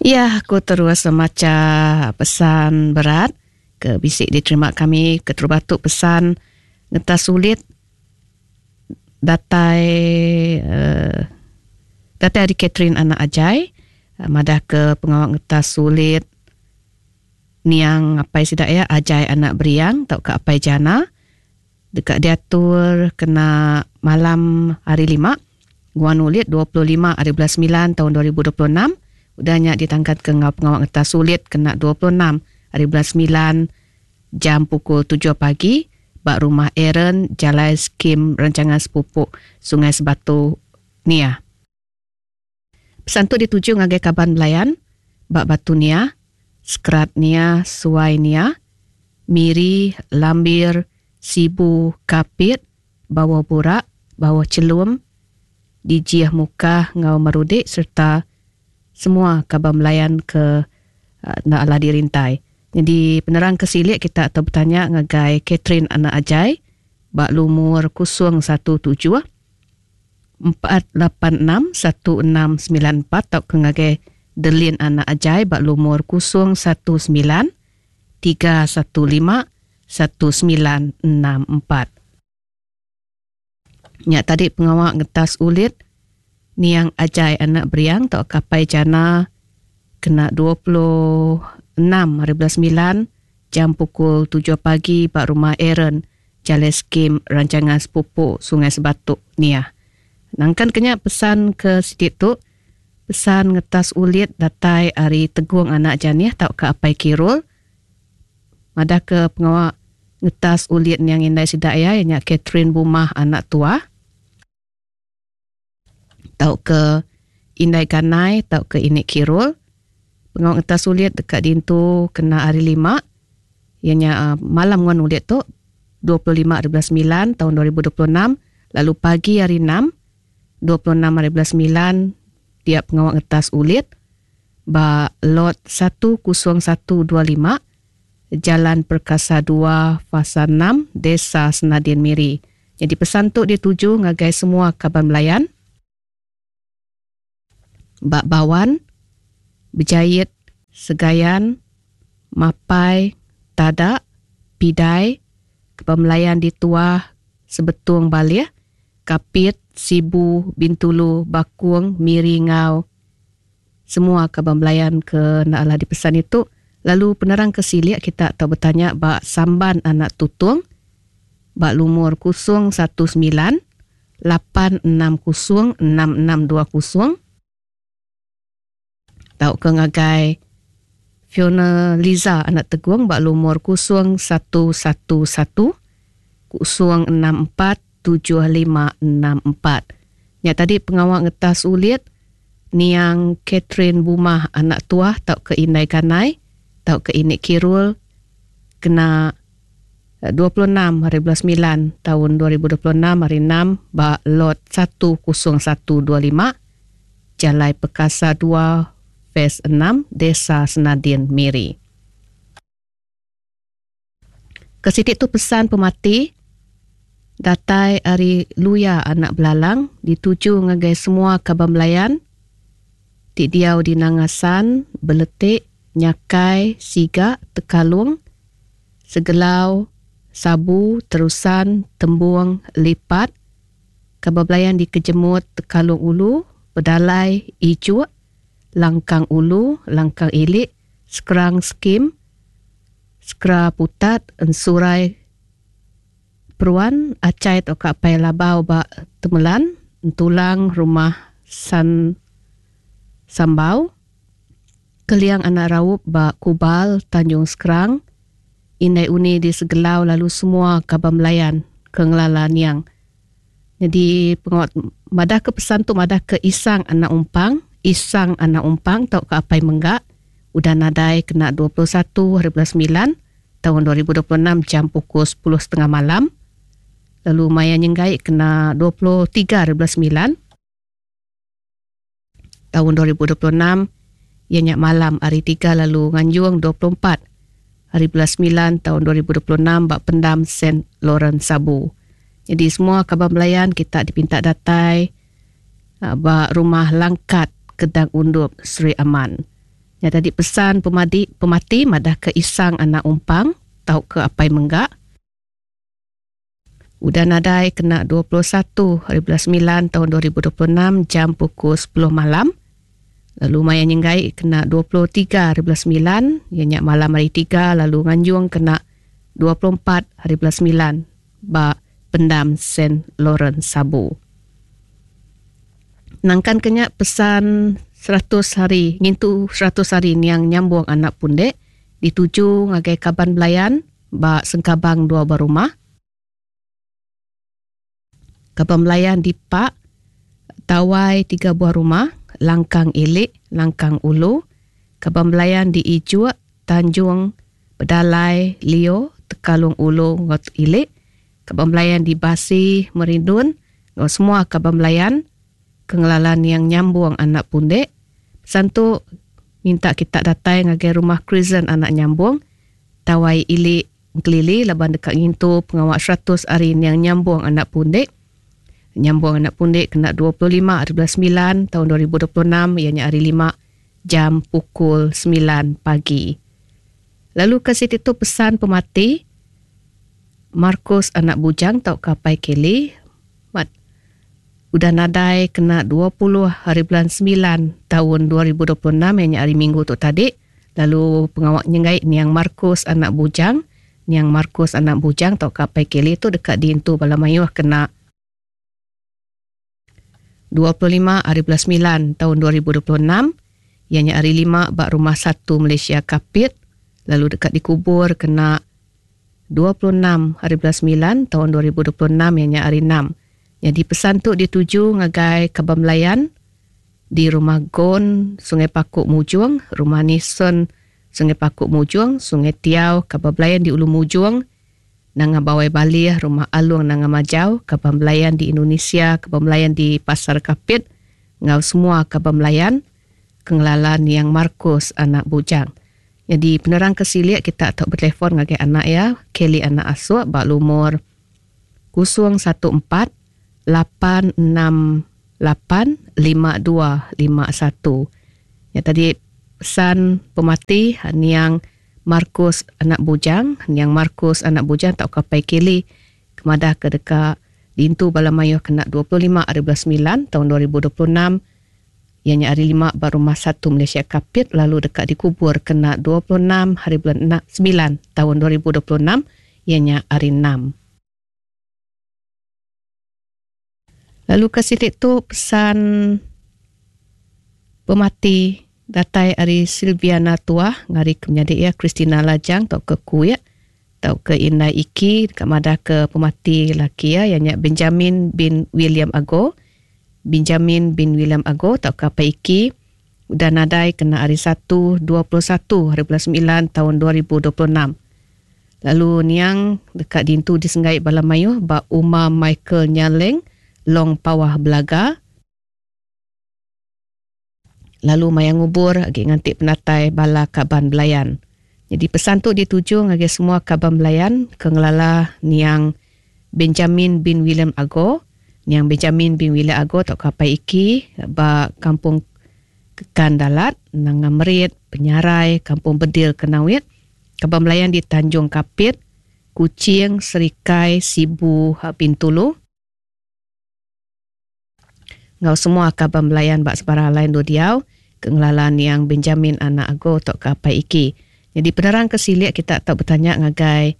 Ya, aku terus macha pesan berat ke bisi diterima kami keterubah tu pesan ngetas sulit datai uh, datai ari Catherine anak Ajai uh, madah ke pengawa ngetas sulit niang apai sida ya Ajai anak Beriang tauka apai Jana deka diatur kena malam hari Lima, Guan Ulit 25 hari bulan semilan taun 2026, udah nya ditangkanka enggau pengawa ngetas ulit kena 26 hari bulan semilan jam pukul tujuh pagi ba Rumah Aaron, Jalai Skim Rancangan Sepupuk Sungai Sebatu, Niah. Pesan tu dituju ngagai kaban belayan ba Batu Niah, Sekerat Niah, Suai Niah, Miri, Lambir, Sibu, Kapit, Bawah Burak, Bawah Chelum, Dijih Mukah enggau Marudi sereta semua kaban belayan ke enda alah dirintai. Nyadi penerang ke silik kita tau betanya ngagai Catherine Anak Ajai ba lumur 017 486 1694 tauka ngagai Delin Anak Ajai ba lumur 019 315 1964. Nya tadi pengawa ngetas ulit niang Ajai anak Beriang tauka Apai Jana kena 26 hari bulan 9 jam pukul 7 pagi ba Rumah Aaron Jalai Skim Rancangan Sepupu Sungai Sebatuk Niah. Nangkan ke nya pesan ke siti tu, pesan ngetas ulit datai ari Tegung anak Janih tauka Apai Kirul madahka pengawa ngetas ulit niang indai sida iya iya nya Catherine Bumah anak Tuah tauka Indai Ganai tauka Ini Kirul. Pengawa ngetas ulit deka diintu kena hari Lima iya nya malam nguan ulit tu 25 hari bulan semilan taun 2026 lalu pagi hari Enam 26 hari bulan semilan dia pengawa ngetas ulit ba lot 10125 Jalan Perkasa 2 Fasa 6 Desa Senadin Miri. Nyadi pesan tu dituju ngagai semua kaban belayan ba Bawan, Bejait, Segayan, Mapai, Tada, Pidai, Kaban Belayan di Tuah, Sebetung Balih, Kapit, Sibu, Bintulu, Bakung, Miri enggau semua kaban belayan ke enda alah dipesan ditu lalu penerang ke silik kita tau betanya ba Samban Anak Tutong ba lumur 019 860 6620 tauka ngagai Fiona Liza anak Tegung ba lumur 0111 064 7564. Nya tadi pengawa ngetas ulit niang Catherine Bumah anak Tuah tauka Indai Ganai tauka Inik Kirul kena 26 hari bulan semilan taun 2026 hari enam ba Lot 10125 Jalai Perkasa 2 Phase 6 Desa Senadin Miri. Ke siti tu pesan pemati datai ari Luya anak Belalang dituju ngagai semua kaban belayan ti diau di Nanga San, Beletik, Nyakai, Siga, Tekalung, Segelau, Sabu, Terusan, Tembung, Lipat, kaban belayan di Kejemut, Tekalung Ulu, Pedalai, Ijuk, Langkang Ulu, Langkang Ilik, Skrang Skim, Skra Putat, Ensurai Peruan, Achai tauka Apai Labau ba Temelan, Entulang, Rumah San Sambau, Keliang Anak Raup ba Kubal, Tanjung Skrang, Indai Uni di Segelau lalu semua kaban belayan ke ngelala niang. Nyadi pengawa madahka pesan tu madahka Isang anak Umpang, Isang anak Umpang tauka Apai Mengga udah nadai kena 21 hari bulan semilan taun 2026 jam pukul sepuluh setengah malam lalu maya nyenggai kena 23 hari bulan semilan taun 2026 iya nya malam hari Tiga lalu nganjung 24 hari bulan semilan taun 2026 ba Pendam Saint Lawrence Sabu. Nyadi semua kaban belayan kita dipinta datai ba Rumah Langkat Kedang Undup Sri Aman. Nya tadi pesan pemadi pemati madahka isang anak umpang tauka apai mengga. Udah nadai kena 21 hari bulan semilan taun 2026 jam pukul sepuluh malam. Lalu maya nyenggai kena 23 hari bulan semilan iya nya malam hari tiga lalu nganjung kena 24 hari bulan semilan ba Pendam Saint Lawrence Sabu. Nangkan ke nya pesan 100 hari ngintu 100 hari niang nyambung anak pundek dituju ngagai kaban belayan ba Sengkabang Dua Buah Rumah. Kaban belayan di Pak Tawai Tiga Buah Rumah, Langkang Ilik, Langkang Ulu, kaban belayan di Ijuk, Tanjung, Pedalai, Lio, Tekalung Ulu enggau Ilik, kaban belayan di Basi, Merindun enggau semua kaban belayan ke ngelala niang nyambung anak pundek. Pesan tu minta kita datai ngagai rumah Krisen anak nyambung, Tawai Ili Engkelili laban deka ngintu pengawa 100 hari niang nyambung anak pundek. Nyambung anak pundek kena 25 hari bulan semilan taun 2026 iya nya hari lima jam pukul semilan pagi. Lalu ke siti tu pesan pemati Marcus anak Bujang tauka Apai Kelly mat udah nadai kena 20 hari bulan semilan taun 2026 iya nya hari minggu tu tadi lalu pengawa nyenggai niang Marcus anak Bujang niang Marcus anak Bujang tauka Apai Kelly tu deka diintu bala mayuh kena 25 hari bulan semilan taun 2026 iya nya hari lima ba Rumah Satu Malaysia Kapit lalu deka dikubur kena 26 hari bulan semilan taun 2026 iya nya hari enam. Nyadi pesan tu dituju ngagai kaban belayan di Rumah Gon Sungai Paku Mujong, Rumah Nison Sungai Paku Mujong, Sungai Tiau, kaban belayan di Ulu Mujong, Nanga Bawai Balih, Rumah Alung Nanga Majau, kaban belayan di Indonesia, kaban belayan di Pasar Kapit enggau semua kaban belayan ke ngelala niang Marcus anak Bujang. Nyadi penerang ke silik kita tau betelefon ngagai anak iya, Kelly anak Asuk ba lumur 014 868 5251. Nya tadi pesan pemati niang Marcus anak Bujang, niang Marcus anak Bujang tauka Pai Kelly ke madahka deka diintu bala mayuh kena 25 ari bulan semilan taun 2026 iya nya hari lima ba Rumah Satu Malaysia Kapit lalu deka dikubur kena 26 hari bulan semilan taun 2026 iya nya hari enam. Lalu ke siti tu pesan pemati datai ari Sylviana Tuah ngari ke menyadi iya Christina Lajang tauka Kuik tauka Indai Iki deka madah ke pemati laki iya iya nya Benjamin bin William Ago. Benjamin bin William Ago tauka Apai Iki udah nadai kena hari Satu 21 hari bulan semilan taun 2026. Lalu niang deka diintu disenggai bala mayuh ba Uma Michael Nyaleng, Long Pawah Belaga. Lalu maya ngubur agi nganti penatai bala kaban belayan. Nyadi pesan tu dituju ngagai semua kaban belayan ke ngelala niang Benjamin bin William Ago, niang Benjamin bin William Ago tauka Apai Iki ba Kampung Kekan Dalat, Nanga Merit, Penyarai, Kampung Bedil Kenawit. Kaban belayan di Tanjung Kapit, Kuching, Serikai, Sibu, Bintulu enggau semua kaban belayan ba sebarang alai endur diau ke ngelala niang Benjamin anak Ago tauka Apai Iki. Nyadi penerang ke silik kita tau betanya ngagai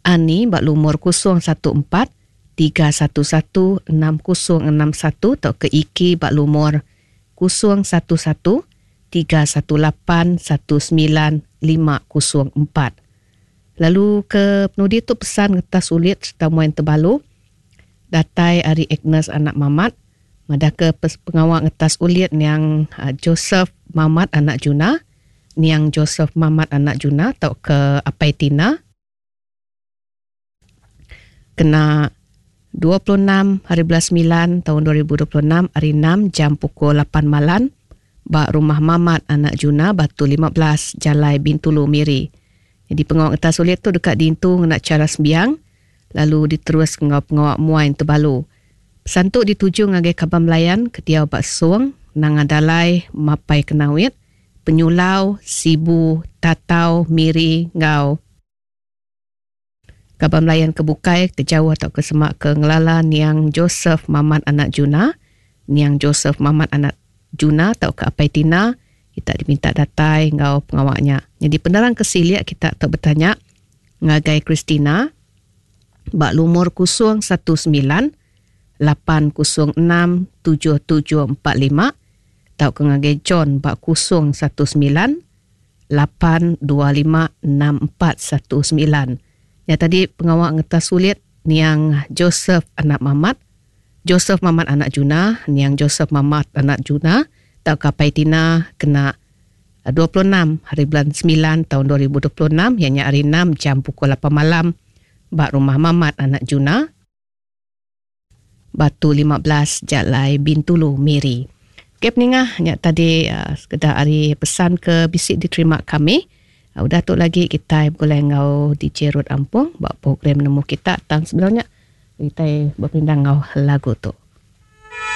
Ani ba lumur 014 311 6061 tauka Iki ba lumur 011 318 19504. Lalu ke penudi tu pesan ngetas ulit sereta muai entebalu datai ari Agnes anak Mamat madahka pengawa ngetas ulit niang Joseph Mamat anak Juna, niang Joseph Mamat anak Juna tauka Apai Tina. Kena 26 hari bulan semilan taun 2026 hari enam jam pukul lapan malan ba Rumah Mamat anak Juna Batu 15 Jalai Bintulu Miri. Nyadi pengawa ngetas ulit tu deka diintu ngena chara sembiang lalu diterus enggau pengawa muai entebalu. Pesan tu dituju ngagai kaban belayan ke diau ba Song, Nanga Dalai, Mapai Kenawit, Penyulau, Sibu, Tatau, Miri enggau kaban belayan ke bukai ke jauh tauka semak ke ngelala niang Joseph Mamat anak Juna, niang Joseph Mamat anak Juna tauka Apai Tina, kita diminta datai enggau pengawa nya. Nyadi penerang ke silik kita tau betanya ngagai Christina ba lumur 019 806 7745 tauka ngagai John ba 019 825 6419. Nya tadi pengawa ngetas ulit niang Joseph anak Mamat, Joseph Mamat anak Juna, niang Joseph Mamat anak Juna tauka Apai Tina kena 26 hari bulan 9 taun 2026 iya nya hari 6 jam pukul 8 malam ba rumah Mamat anak Juna. Batu 15 Jalai Bintulu Miri. Okey peningah nya tadi uh, sekeda ari pesan ke bisi diterima kami. Uh, udah tu lagi kita begulai enggau DJ Ruth Ampung ba program nemu kita tang sebelum nya kita beperindang enggau lagu tu.